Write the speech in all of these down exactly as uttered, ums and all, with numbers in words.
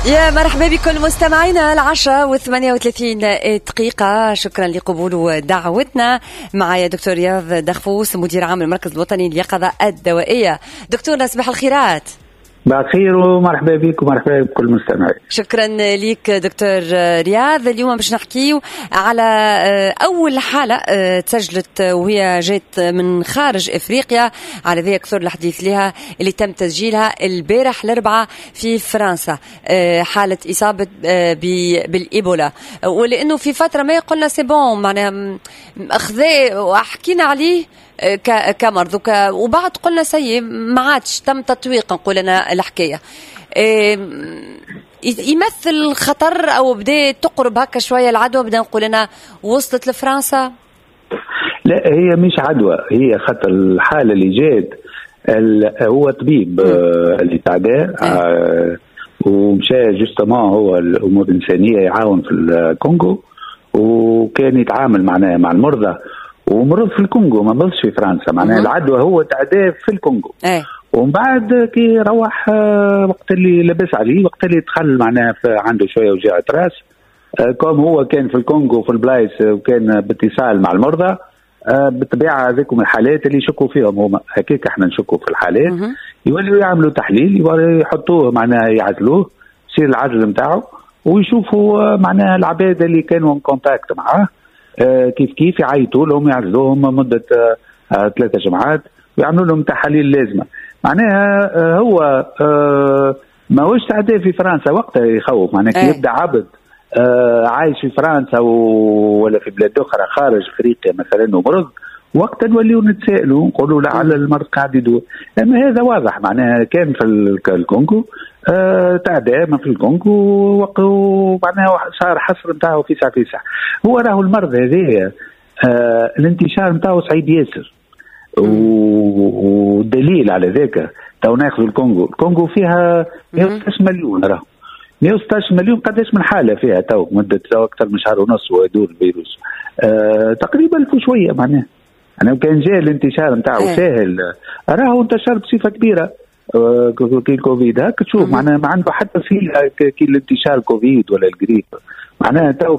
يا مرحبا بكل مستمعينا، العشرة وثمانية وثلاثين دقيقة. شكرا لقبول دعوتنا. معايا دكتور رياض دغفوس، مدير عام المركز الوطني لليقظة الدوائية. دكتور، صباح الخيرات. بخير ومرحبا بك ومرحبا بكل المستمعين. شكرا لك دكتور رياض. اليوم باش نحكيو على أول حالة آه، تسجلت وهي جات من خارج إفريقيا، على ذي أكثر الحديث لها، اللي تم تسجيلها البارح الأربعاء في فرنسا، آه، حالة إصابة آه، بالإيبولا. ولأنه في فترة ما قلنا c'est bon، معناها أخذ وحكينا عليه كمرض، وبعد قلنا ça y est، ما عادش تم تطويق، نقول انا الحكاية يمثل خطر او بدا تقرب هكا شوية العدوى، بدا نقول انا وصلت لفرنسا. لا، هي مش عدوى، هي خاطر الحالة اللي جات هو طبيب آه، اللي تعدى آه ومشى justement هو الامور الانسانية يعاون في الكونغو، وكان يتعامل معناها مع المرضى ومرض في الكونغو، ما مرضش في فرنسا. معناها العدوى هو تعدى في الكونغو ايه. ومن بعد كي روح آه، وقت اللي لبس عليه، وقت اللي دخل معناها عنده شوية وجاعة راس، آه، comme هو كان في الكونغو في البلايص وكان باتصال مع المرضى، آه، بالطبيعة هذيكم الحالات اللي يشكوا فيهم هما، هكاك احنا نشكوا في الحالات، يوليوا يعملوا تحليل، يحطوه معناها يعزلوه، يصير العزل نتاعو ويشوفوا معناها العباد اللي كانوا en contact معاه كيف كيف يعيطوا لهم، يعزلوهم مده ثلاثة جمعات ويعملوا لهم تحاليل لازمه. معناها آه، هو آه، ماهوش تعدي في فرنسا وقتها يخوف، معناها كي يبدا عبد آه، عايش في فرنسا ولا في بلاد اخرى خارج افريقيا مثلا ومرض، وقتا نوليو نتسائلوا نقولوا لعل المرض قاعد يدور. اما هذا واضح، معناها كان في الكونغو، آه تعدى ما في الكونغو ومعناها صار حصر نتاعو فيسع فيسع. هو راهو المرض هذايا آه الانتشار نتاعو صعيب ياسر، والدليل على ذاك تو ناخذ الكونغو، الكونغو فيها مية وستاش مليون، راهو مية وستاش مليون، قداش من حاله فيها تو مده تو اكثر من شهر ونص ويدور الفيروس؟ آه تقريبا ألف وشويه. معناها انا كان جاء الانتشار نتاعو إيه. ساهل راهو انتشر بصفة كبيرة آه كي الكوفيد هاك تشوف، معناها ما عنده حتى صله كي الانتشار كوفيد ولا الجريب. معناها تو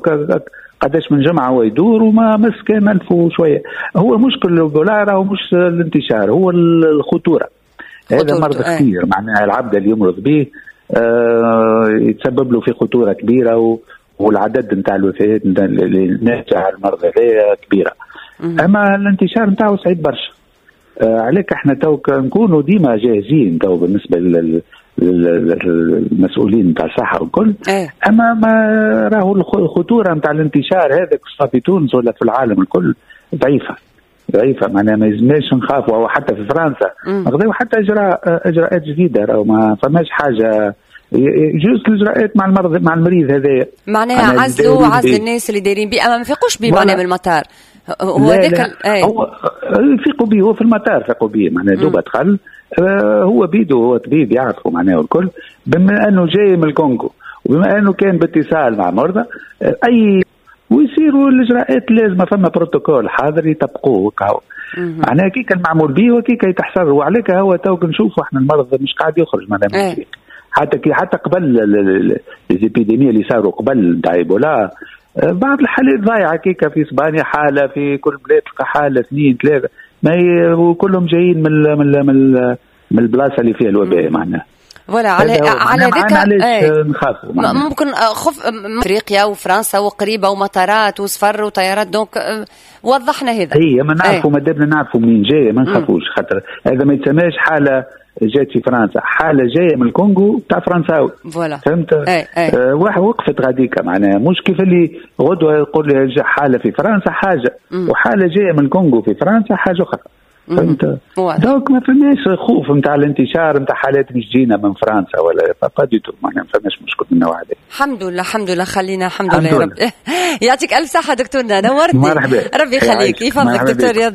قداش من جمعه هو يدور وما مس كان ألف وشويه. هو مشكل الايبولا راهو مش الانتشار، هو الخطوره. هذا مرض إيه. خطير، معناها العبد اللي يمرض به آه يتسبب له في خطورة كبيره، و والعدد نتاع الوفيات اللي ناتجة على المرض هذا كبيره، اما الانتشار نتاعو صعيب برشا. آه عليك احنا تو نكونوا ديما جاهزين تو بالنسبة لل للمسؤولين نتاع الصحة والكل ايه. اما ما راهو الخطورة نتاع الانتشار هذا في تونس ولا في العالم الكل ضعيفة ضعيفه، معناها ما يلزمناش نخافوا. او حتى في فرنسا خذوا حتى اجراء اجراءات جديده، راهو ما فماش حاجه، juste الاجراءات مع المرض مع المريض هذايا. معناها عزلوا عزل الناس اللي دايرين بيه، اما ما فيقوش بيه معناها من المطار. هو هذاك ايه. هو فيقوا به، هو في المطار فيقوا به، معناها دوبا دخل آه، هو بيدو هو طبيب يعرفه معناه الكل، بما انه جاي من الكونغو وبما انه كان باتصال مع مرضى آه، اي ويصيروا الاجراءات اللازمه، فما بروتوكول حاضر يطبقوه كهو. معناها كي كان معمول به وكي يتحصر وعليك هو تو نشوفوا احنا المرض مش قاعد يخرج معناها ايه. حتى كي حتى قبل les épidémies اللي صاروا قبل نتاع ايبولا، آه، بعض الحالات ضايعة كيكا في اسبانيا حاله، في كل بلاد تلقى حاله، اثنين، ثلاثه، ما وكلهم جايين من من من من البلاصة اللي فيها الوباء معناها. voilà، على على ذاك ايه. نخافوا. ممكن خوف افريقيا وفرنسا وقريبه ومطارات وسفر وطيارات، donc آه، وضحنا هذا. هي ما نعرفوا، ما دامنا نعرفوا منين جاية ما نخافوش، خاطر هذا ما يتسماش حاله جات في فرنسا، حاله جاية من الكونغو تاع فرنساوي. voilà. فهمت؟ اي اي. آه واحد وقفت غاديكا، معناها مش كيف اللي غدوه يقول لي حاله في فرنسا حاجة مم. وحاله جاية من الكونغو في فرنسا حاجة اخرى، فهمت؟ donc ما فماش خوف نتاع الانتشار نتاع حالات مش جينا من فرنسا ولا pas du tout، معناها ما فماش مشكل من النوع هذا. الحمد لله، الحمد لله، خلينا الحمد لله يا رب. يعطيك الف صحة دكتورنا، نورتني. مرحبا. ربي يخليك، يفضلك دكتور رياض.